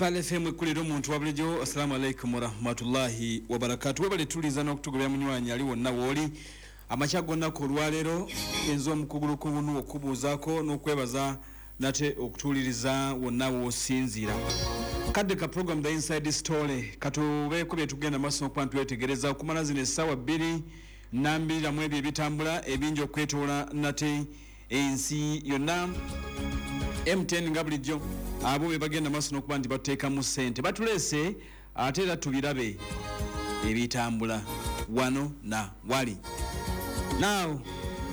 Pearl FM ekkulira omuntu wa bulijjo. Assalamu alaikum warahmatullahi wabarakatu. Webale tuliza n'okutugobya munywanyi ali wonna wooli amakya g'olunaku olwaleero. Enza omukugulu ku bunu okubuuzaako n'okwebaza nate okutuuliriza wonna w'osinziira. Kadde ka program The Inside Story, katubeeko bye tugenda maaso n'okuba ntwetegereza okumala zino essaawa 2 nambiriramu ebyo ebitambula ebingi okwetoola nate ensi yonna. MTN nga bulijjo abo be bagenda maaso n'okuba nti batuteekamu ssente, batuleese ate era tubirabe ebitambula wano na wali. Now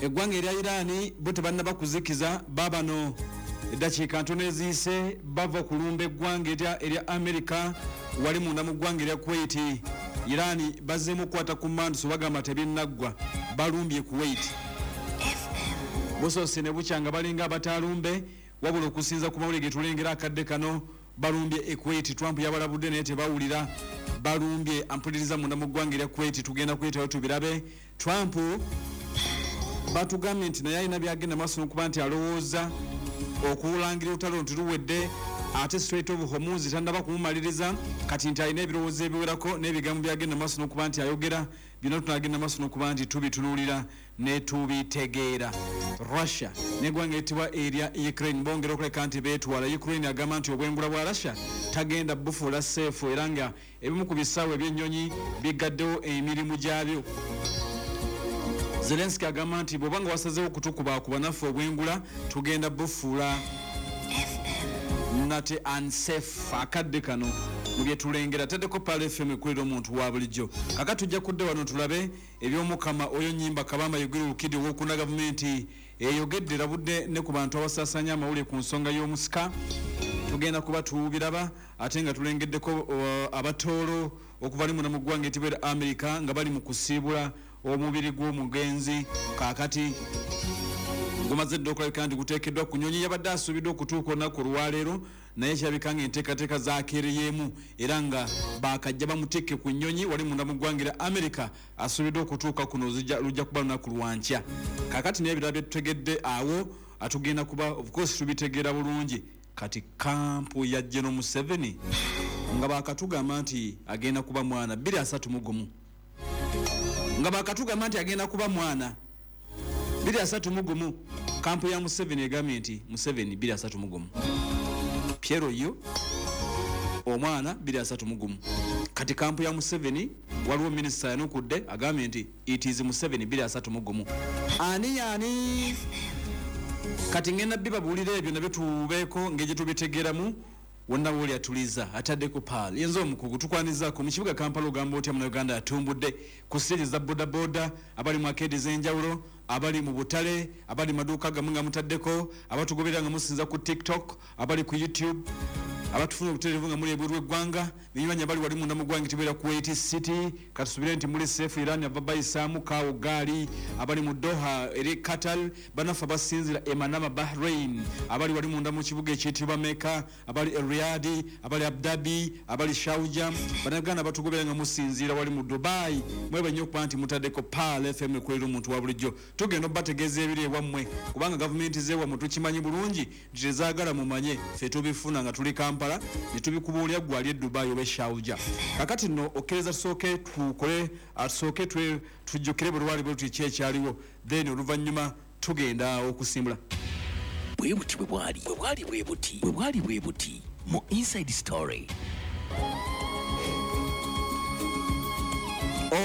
eggwanga erya Iran bo tebannaba kuzikiza, babano eddakiika ntono eziyise bava kulumba eggwanga erya America wali munda mu ggwanga erya Kuwait. Iran bazzeemu okukwata ku manduso, bagamba tebinnaggwa, balumbye Kuwait. Busoose ne bukya nga balinga abataalumbe, wabula okusinza ku mawulire ge tulengera akadde kano balumbye e Kuwait. Trump yabalabudde naye tebawulira, balumbye ampuliriza munda mu ggwanga erya Kuwait. Tugenda kuyitayo tubirabe. Trump batugambye nti naye alina byagenda maaso n'okuba nti alowooza okulangira olutalo nti luwedde, ate Strait of Hormuz tannaba kumumaliriza kati, nti alina ebirowoozo ebiwerako n'ebigambo byagenda maaso n'okuba nti ayogera. Byonna tunagenda maaso n'okuba nti tubitunuulira ne tubitegeera. Russia neggwanga eritibwa erya Ukraine bongera okuleka nti beetwala. Ukraine agamba nti obwengula bwa Russia tagenda bufuula safe, era nga ebimu ku bisaawe ebyennyonyi bigaddewo emirimu gyabyo. Zelenski agamba nti bw'oba nga wasazeewo okutukubakuba, naffe obwengula tugenda bufuula nate unsafe. Akadde kano mu byetulengera taddeko Pearl FM ekulira omuntu wa bulijjo. Kaka tujja kudde wano tulabe ebyomukama oyo nyimba Kabamba Yogere Olukidi owokuna. Gavumenti eyogedde, rabudde ne ku bantu abasaasanya amawulire ku nsonga y'omusika. Tugenda kuba tubiraba ate nga tulengeddeko abatoolo okuva limuna mu ggwanga etibeera America nga bali mu kusiibula omubiri gw'omugenzi. Kaakati gumaze dda okulabika nti guteekeddwa ku nyonyi, yabadde asuubiddwa okutuuka olunaku olwaleero, naye kirabika nga enteekateeka zakeereyeemu era nga bakajja bamutikke ku nnyonyi wali munda mu ggwanga erya America. Asuubiddwa okutuuka kuno lujja kuba lunaku lwankya. Kaakati naye ebirala byetutegedde awo atugenda kuba of course tubitegeera bulungi. Kati kampu ya General Museveni nga bakatugamba nti agenda kuba mwana 231, nga bakatugamba nti agenda kuba mwana 231. Kampu ya Museveni egambye nti Museveni 231, Piero yo omwana 231. Kati kampu ya Museveni, waliwo minisita yanukudde agambye nti it is Museveni 231. Ani yani? Kati ngenda bibabuulira ebyo nabyo tubeeko ngeri tubitegeeramu. Wonna wooli atuliza ataddeko Pearl, yenza omukugu tukwanizaako mu kibuga Kampala. Ogamba otya Munauganda atumbudde ku siteegi za bodaboda, abali mu arcade ez'enjawulo, abali mu butale, abali mu maduuka gammwe nga mutaddeko, abatugoberera nga musinza ku TikTok, abali ku YouTube, abatufuna obutereevu nga muli ebweru w'eggwanga, binywanyi abali wali munda mu ggwanga etibeera Kuwait City, katusubire nti muli safe. Iran ava bayisaamu kaawo gaali, abali mu Doha eri Qatar, banaffe abasinzira e Manama Bahrain, abali wali munda mu kibuga ekiyitibwa Mecca, abali e Riyadh, abali Abu Dhabi, abali Sharjah, Bannayuganda batugobera nga musinziira wali mu Dubai, mwebe nnyo okuba nti mutaddeko Pearl FM ekolera omuntu wa bulijjo. Tugenda obategeeza ebiri ewammwe, kubanga gavumenti z'ewammwe tukimanyi bulungi nti tezaagala mumanye. Ffe tubifuna nga tuli Kampala ne tubikubuulira gwe ali e Dubai oba e Sharjah. Kakati nno okkiriza tusooke tukole, tusooke tujjukire bwe lwali bwe luti ki ekyaliwo, then oluvannyuma tugenda okusimbula. Bwe buti bwe bwali, bwe bwali bwe buti, bwe bwali bwe buti mu Inside Story.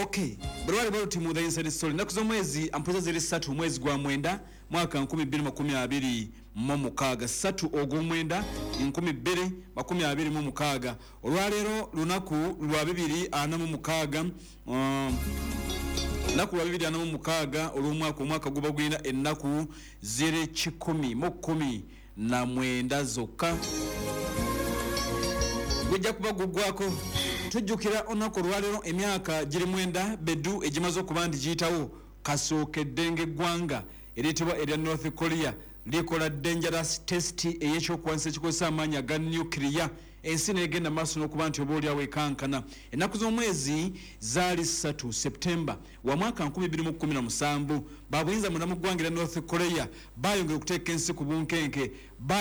Okay, bwe lwali bwe luti mu The Inside Story. Ennaku z'omwezi ampuza ziri 3, omwezi gwa 9, mwaka 2026, 3 ogw'omwenda 2026. Olwaleero lunaku lwa 246, lunaku lwa 246 olw'omwaka. Omwaka guba gulina ennaku ziri 119 zokka, gujja kuba guggwako. Tujjukira olunaku olwaleero emyaka giri 9 beddu egimaze okuba nti giyitawo kasookedde ng'eggwanga eriyitibwa erya North Korea likola dangerous test ey'ekyokulwanyisa ekikozesa amaanyi aga nuclear, ensi negenda maaso n'okuba nti oba oliawo ekankana. Ennaku z'omwezi zaali 3 Septemba wa mwaka 2017, babuyinza munda mu ggwanga erya North Korea bayongera okuteeka ensi ku bunkenke.